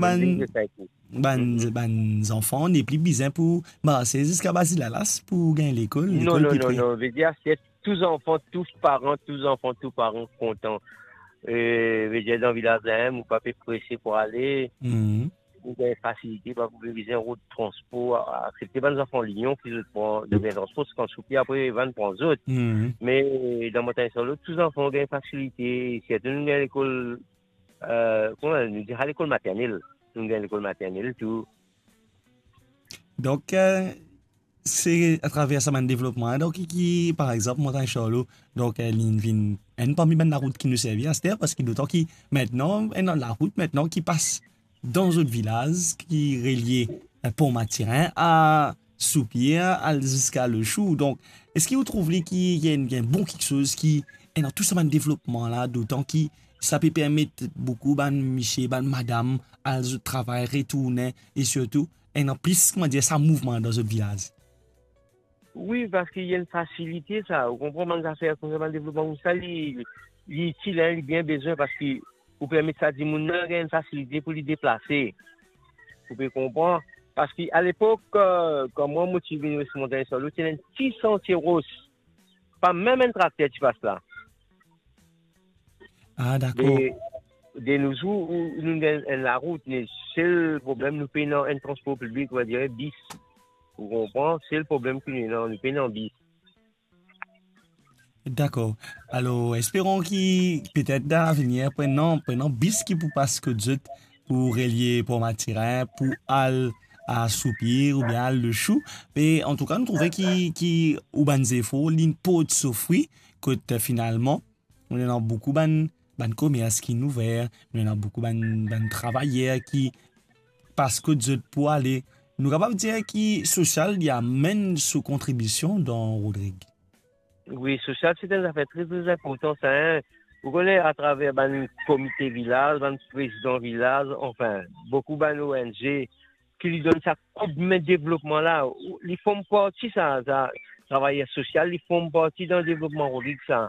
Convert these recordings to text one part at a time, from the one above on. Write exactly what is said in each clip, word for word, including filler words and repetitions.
Bann, bann, bann zanfan nepli bizin pou marse ziska Bazilalas pou gagn lekol, non, lekol non, non, non. Vedir, se tou zanfan, tou paran, tou zanfan, tou paran kontan. E, vedir, dan vilaz la, ou pa pe prese pou ale. Mhm. Ou gagn fasilite, pa pou bizin rod transpor, aksepte bann zanfan Lyon ki zot pran, zot gagn transpor, se kan soupi apre, vann pran zot. Mhm. Me dan Montagn Sarlo, tou zanfan gagn fasilite, sirtou nou gagn lekol, eh, kouma nou dir sa, lekol maternel. Nou gagn lekol maternel tou. Donk, eh, se atraver sa bann devlopman, donk, ki, ki, par exanp, Montagn Sarlo, donk, eh, li vinn enn parmi bann larout ki nou servi aster, parski dotan ki, aster, ena larout aster ki pas dan zot vilaz, ki relie, eh, Port Mathurin a Soupir, al ziska Le Chou. Donk, eski ou trouv li ki, ki enn, ki enn bon kiksoz ki ena tou sa bann devlopman la, dotan ki sa pe permet boukou bann misie, bann madam al zot travay, retourne, e sirtou ena plis, kouma dir, sa mouvman dan zot vilaz? Wi, parski li enn fasilite sa, ou konpran, bann zafer koumsa, bann devlopman koumsa, li, li itil, hein, li bien bizin, parski ou permet sa dimoun la gagn enn fasilite pou li deplase. Ou pe konpran? Parski alepok, eh, kan mwa mo ti vinn res Montagn Sarlo, ti ena enn ti santie ros. Pa mem enn trakter ti pas la. Ah, dakor. De, de no zour, ou, nou gagn enn larout, me sel problem, nou pena enn transpor piblik, on va dire bis. Ou konpran? Sel problem ki nou ena, nou pena bis. Dakor. Alor, esperon ki petet dan lavenir, pou ena, pou ena bis ki pou pas kot zot, pou relie Port Mathurin, pou al a Soupir oubien al Le Chou. Me antouka, nou trouve ki, ki ou bann zefor, li port so fri, kot, eh, finalman, nou ena boukou bann, bann komers ki'nn ouver, nou ena boukou bann, bann travayer ki pas kot zot pou ale. Nou kapav dir ki sosial, li amenn so kontribision dan Rodrig. Wi, sosial, se enn zafer tre, tre inportan sa, hein. Ou kone, atraver bann komite vilaz, bann prezidan vilaz, anfin, boukou bann O N G, ki li donn sa koudme devlopman la, ou, li form parti sa, sa, travayer sosial, li form parti dan devlopman Rodrig sa.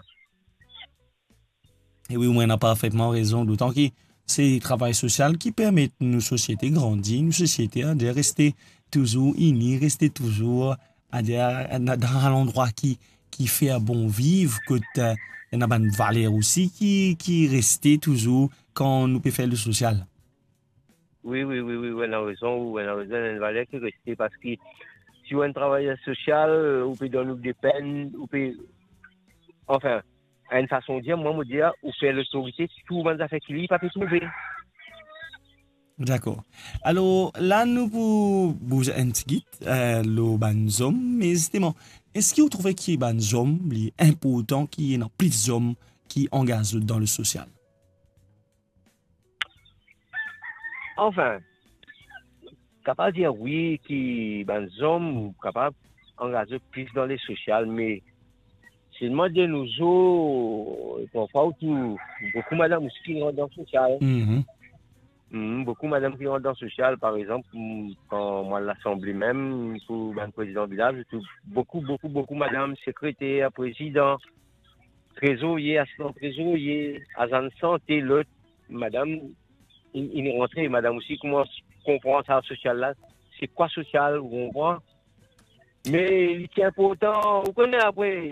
E wi, ou ena parfetman rezon, dotan ki se travay sosial ki permet nou sosiete grandi, nou sosiete, adir, reste touzour ini, reste touzour, adir, dan, dan landrwa ki, ki fer bon viv, kot, eh, ena bann valer osi ki, ki reste touzour kan nou pe fer le sosial. Wi, wi, wi, wi, ou ena rezon, ou ena rezon, ena enn valer ki reste, parski si ou enn travayer sosial, ou pe donn ou depenn, ou pe, anfin, enn fason dir, mwa, mo dir, ou fer lotorite, tou bann zafer ki li pa pe trouve. Dakor. Alor, la nou pou bouz enn tigit, eh, lor bann zom, me zisteman, eski ou trouve ki bann zom, li inportan ki ena plis zom ki angaz zot dan le sosial? Anfin, kapav dir wi ki bann zom kapav angaz zot plis dan le sosial, me selman de no zour, parfwa ou trouv boukou madam osi ki rant dan sosial. Mhm. Hmm, boukou madam ki rant dan sosial, par exanp, hmm, kan mwa al lasanble mem, pou bann prezidan vilaz, ou trouv boukou, boukou, boukou madam, sekreter, prezidan, trezorye, asitan trezorye, azan sante, lot, madam, inn, inn rantre, madam osi koumans konpran sa sosial la, se kwa sosial, ou konpran? Me li ti inportan, ou kone apre,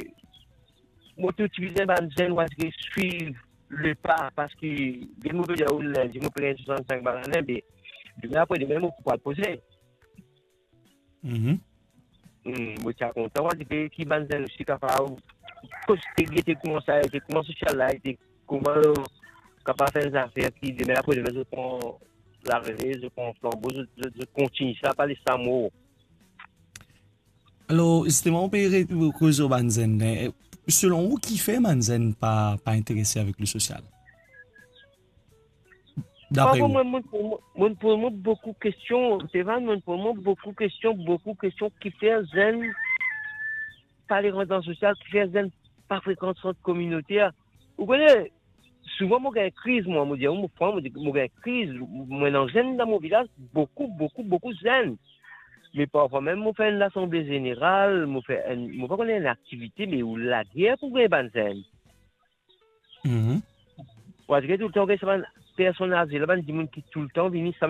mo tou ti bizin bann zenn, ou aste swiv le pa, parski, de mo pe dir ou, lindi, mo pe gagn swasann-sink lane, me demin apre demin, mo pou al poze. Mhm. Hmm, mo ti a kontan, mo dir ki bann zenn osi kapav koz, gete kouma sa ete, kouma sosial la ete, kouma kapav fer enn zafer ki demin apre demin zot pran larele, zot pran flanbo, zot, zot, zot kontign sa, pa les sa mor. Alor, zisteman, ou pe re-, koz lor bann zenn, eh, selon ou, kifer bann zenn pa, pa interese avek le sosial? Dapre ou? Parfwa, mwa, mo, mo, mo poz mwa boukou kestion, Stéphane, mo poz mwa boukou kestion, boukou kestion, kifer zenn pa le rant dan sosial, kifer zenn pa frekant sant kominoter. Ou kone, souvan mo gagn kriz, mwa, mo dir, mo pran, mo dir, mo gagn kriz, mo ena zenn dan mo vilaz, boukou, boukou, boukou zenn. Me parfwa mem mo fer enn lasanble zeneral, mo fer enn, mo pa kone enn aktivite, me ou lager pou gagn bann zenn. Mhm. Ou aste toultan gagn sa bann personn aze la, bann dimoun ki toultan vini, sa